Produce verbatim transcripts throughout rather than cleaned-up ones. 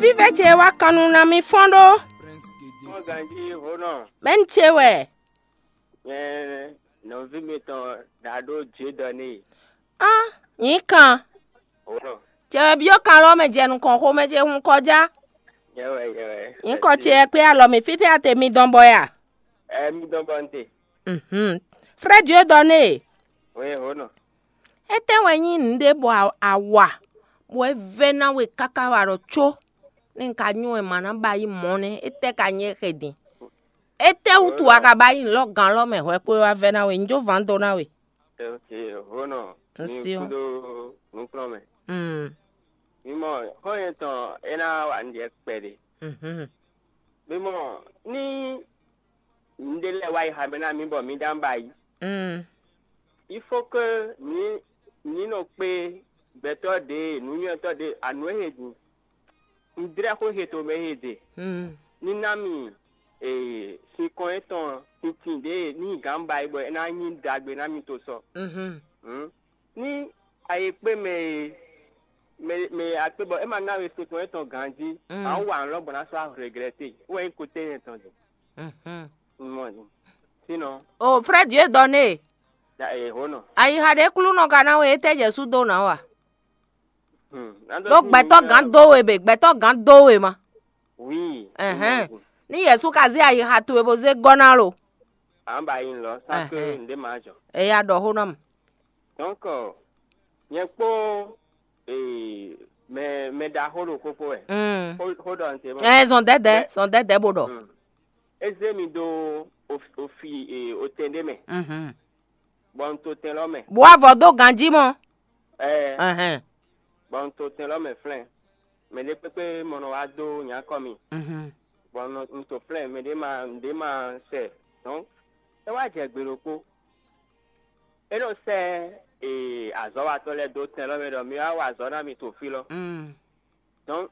Vívɛ ce wá kan nu ná mi fɔ́n ɖó. Mɔ ganjí hó nɔ. Mɛ̌ni ce wɛ? Nyɛ nɔví mitɔn ɖaɖó Dieudonné. Á, nyǐ kan. Hó nɔ. Cɛ wɛ byɔ́ kan lɔ mɛ jɛ nukɔn xomɛ ce hun kɔjá. Nyɛ wɛ, nyɛ wɛ. Nyǐ kɔ ce wɛ kpé alɔ mì fítɛ́ ate mi dɔn bɔ ya? Ɛ mi dɔn bɔ n te. Mhm. Frère Dieudonné. Wɛ hó nɔ. Étɛ́ wɛ nyí nǔɖé bɔ a- a wa, bɔ é vɛ́ ná we káká wá ɖɔ có, nú un ka nyɔ́ wɛ ma ná ba yí mɔ̌ nɛ́, étɛ́ ka nyí éxe din? Étɛ́ wútu a ka ba yí nǔ lɔ gǎn lɔ mɛ hwɛ kpó wá vɛ́ ná we? Un jó vǎn dó ná we. Ok, hó nɔ. Un mi sio. Kúdó nukplɔ́n mɛ. Mm. Mi mɔ xɔ́nyɛ tɔn é ná wa nǔɖé kpɛɖé. Mhm. Mi mɔ ní nǔɖé lɛ́ɛ wá yi xá mɛ ná mi bɔ mi ɖó ná ba yí. Mm. Il faut que mi mi nɔ kpé gbɛtɔ́ ɖě, nǔnywɛ́tɔ́ ɖě, anǔ e he din. Un dlɛ́ xó he to mɛ he ɖe. Mm. Ní ná mi ee, sinkɔn étɔn tintin ɖě ní gǎn ba yi bɔ é ná nyí ɖagbe ná mi to sɔ. Mhm. Hmm? Ní a yi kpé mɛ e mɛ mɛ a kpé bɔ é ma ná we sinkɔn étɔn ganjí, Mm. a wá nǔ lɔ bɔ ná sɔ́ regrɛte. Wɛ nyí kote nyɛ tɔn din. Mhm. Un mɔ din. Sinon, O frère Dieudonné, ya e hó nɔ. Ayixa ɖé klúnɔ ka ná we étɛ́ Jesu dó ná wa? Hmm. Ɖó gbɛtɔ́ gǎn dó we bɛ, gbɛtɔ́ gǎn dó we ma. Oui. Ɛhɛn. Un mɔ din. Ní Jesu ka zé ayixa towe bó zé gɔ́ ná lo. À ń bá yín lọ, sans que Ɛhɛn. N ɖé máa jɔ. Eya ɖɔ xó ná mu. Donc, euh, nyɛ kpó ee, mɛ mɛ ɖaxó ɖo kókó wɛ. Mm. Xó xó ɖɔ n te mɔ. Ɛ zɔn dɛdɛ, Mɛ- zɔn dɛdɛ bó ɖɔ. Mm. É zé mi ɖó ofi ee, otɛn ɖé mɛ, Mhm. Bɔ un to tɛn lɔ mɛ. Bó avɔ dó ganjí mɔ. Ɛɛ, Ɛhɛn. Bɔ un to tɛn lɔ mɛ flɛ́n. Mɛ ɖé kpékpé mɔ nɔ wá dó nyǎkɔ mi. Mhm. Bɔ un nɔ- un to flɛ́n mɛ ɖé ma ɖé ma sɛ. Donc, é wá jɛ gbe ɖokpó. É nɔ sɛ́ ee, azɔ̌watɔ́ lɛ́ɛ dó tɛn lɔ mɛ ɖɔ mi wá wa azɔ̌ ná mi to fí lɔ. Mm. Donc,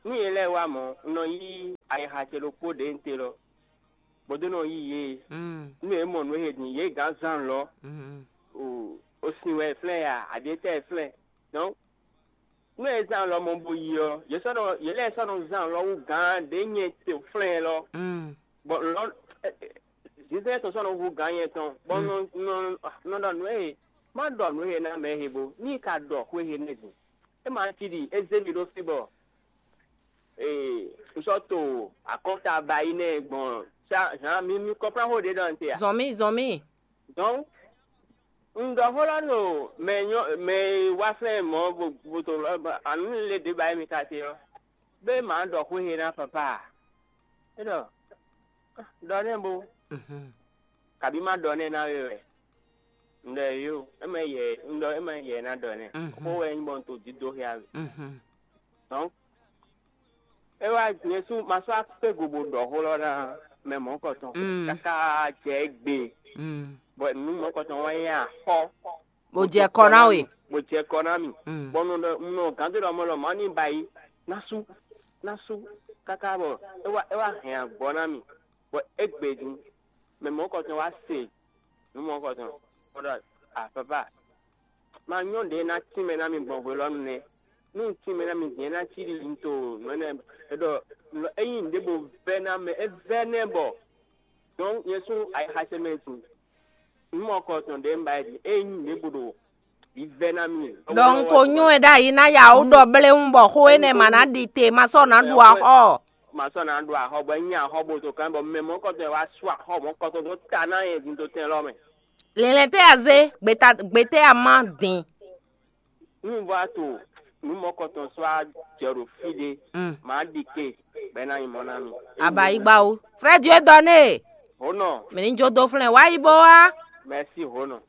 nú yě lɛ́ɛ wá mɔ̌, un nɔ yí ayixa ce ɖokpó ɖě un te lɔ, bó dó nɔ yí yě. Mm. Nú yě mɔ nǔ e din, yě gǎn zán lɔ, Mm. o o sin wɛ flɛ́n ya, aɖětɛ́ flɛ́n. Donc, nú yě zán lɔ mɔ bó yi ɔ́, yě sɔ́ nɔ yě lɛ́ɛ sɔ́ nɔ zán lɔ wú gǎn ɖě nyɛ te flɛ́n lɔ. Mm. Bɔ lɔ zinzɛn tɔn sɔ́ nɔ hú gǎn nyɛ tɔn, bɔ nɔ nɔ nɔ ɖɔ nǔ e má ɖɔ nǔ e ná mɛ he bo ní ka ɖɔ xwé he nɛ́ din. É ma cí ɖi é zé mi ɖó fí bɔ ee un sɔ́ to akɔ́nta ba yi nɛ́ gbɔn sá hǎn mi mi kɔ́flán xó ɖě ɖɔ n te a? Zɔn mì, zɔn mì. Donc, un ɖɔ xó lɔ ɖo mɛ nyɔ mɛ e wá flɛ́n mɔ̌ bo bo to lɔ ba anu le ɖě ba yi mi ka te ɔ́, bé ma ɖɔ xwé he ná papa a? É ɖɔ ɖɔ nɛ́ bo Mhm. Kabi ma ɖɔ nɛ́ ná we wɛ. Un ɖɔ yó, é mɛ yɛ un ɖɔ é mɛ yɛ ná ɖɔ nɛ́. Mhm. Xó wɛ nyí bɔ un to dídó xyá we. Mhm. Donc, é wá Jezu ma sɔ́ akpé go bo ɖɔ xó lɔ ná mɛ mɔ̌kɔtɔn Mm. káká jɛ gbe. Mm. Bɔ nǔ mɔ̌kɔtɔn wá nyí axɔ. Bó jɛ kɔ ná we. Bó jɛ kɔ ná mì. Mm. Bɔ nɔ nɔ gán dó ɖɔ mɔ lɔ mɔ ní ba yi ná sú ná sú káká bɔ é wá é wá hɛn agbɔ ná mì. Bɔ égbé din mɛ mɔ̌kɔtɔn wá se nǔ mɔ̌kɔtɔn bɔ ɖɔ a papa ma nyɔ́ ɖě ná tínmɛ ná mi gbɔn hwelɔ́nu nɛ́. Nú un tínmɛ ná mi din é ná cí ɖi un to nǔ énɛ́ é ɖɔ ényí nǔɖé bo vɛ́ ná mɛ é vɛ́ nɛ́ bɔ donc nyɛ sú ayixa ce mɛ din nǔ mɔ̌kɔtɔn ɖě un ba yi din ényí nǔɖé bo ɖo vǐvɛ́ ná mi. Ɖɔ un ko nywɛ́ ɖ'ayǐ ná ya wú ɖɔ bléwún bɔ xó énɛ́ ma ná ɖi te, ma sɔ́ ná ɖu axɔ́. Ma sɔ́ ná ɖu axɔ́ bɔ é nyí axɔ́ bo to kán bɔ mɛ mɔ̌kɔtɔn e wá sú axɔ́ mɔ̌kɔtɔn dó ta ná nyɛ din dó tɛn lɔ mɛ. Lɛnlɛn tɛ́ a zé, gbeta gbetɛ́ a má din. Nú un vɔ to nǔ mɔ̌kɔtɔn sɔ́ á jɛ ɖo fí ɖé, Mm. Mǎ ɖi ke bɔ é ná nyí mɔ̌ ná mi. Abayigbawo. Frère Dieu donné. Hó nɔ. Mǐ ní jó dó flɛ́n wá yi bó wá. Mɛsí hó nɔ.